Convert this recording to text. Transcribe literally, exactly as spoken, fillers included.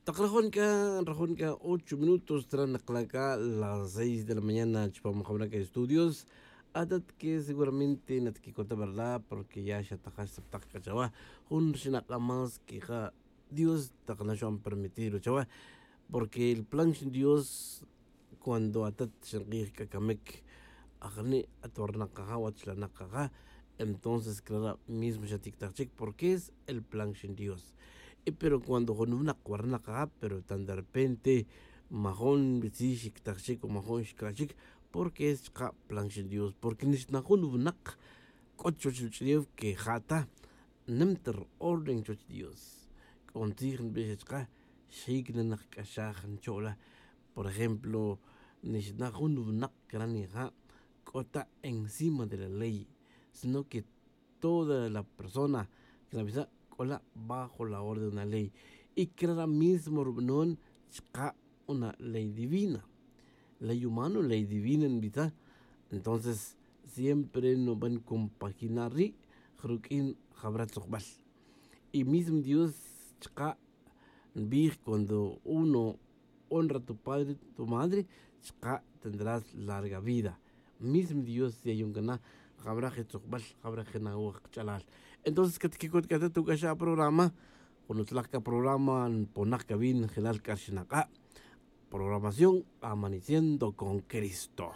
Tak rajon c'a rajon c'a ocho minutos tran nakla' c'a las seis de la mañana chupam jawna c'a estudios. Atat que seguramente natquicota verdad porque ya xa tajax saptak c'a chawa jun rxinak'a' más que ja dios tak naxo'an permitir chawa. Porque el plan xin dios cuando atat xank'ij c'a camic ajani' at warnakaja' wachlanakaja. Entonces clara' mismo xatic'taj chic porque es el plan xin dios. Y pero cuando jun winak warnakaja' pero tan derrepente majon bitzij xic'taj chic o majon xca' chic. Porque es chka' plan xin dios porque nixna jun winak c'o chuwech ruch'ulef que ja' ta nim ta ri orden chuwech dios. C'o ntzij nbix chka' xic na nakc'axaj ncho'la. Por ejemplo nixna jun winak cranija' c'o ta encima de la ley sino que toda la persona que nabisa' c'o la bajo la orden de la ley. Y cranija' mismo rubanon chka' una ley divina. Ley humano ley divina nbisa'. Entonces siempre nuban compaginar ri' ruq'uin jabra tzujbal. Y mismo dios chka' nbij cuando uno honra tu padre tu madre chka' tendrás larga vida. Mismo dios ya yuncana' jabra je tzujbal jabra je nawaj kach'alal. Entonces catquicot c'a ta tuc'axa' programa jun utzlaj c'a programa nponak c'a wi njelal c'a rxinak'a'. Programación amaneciendo con cristo.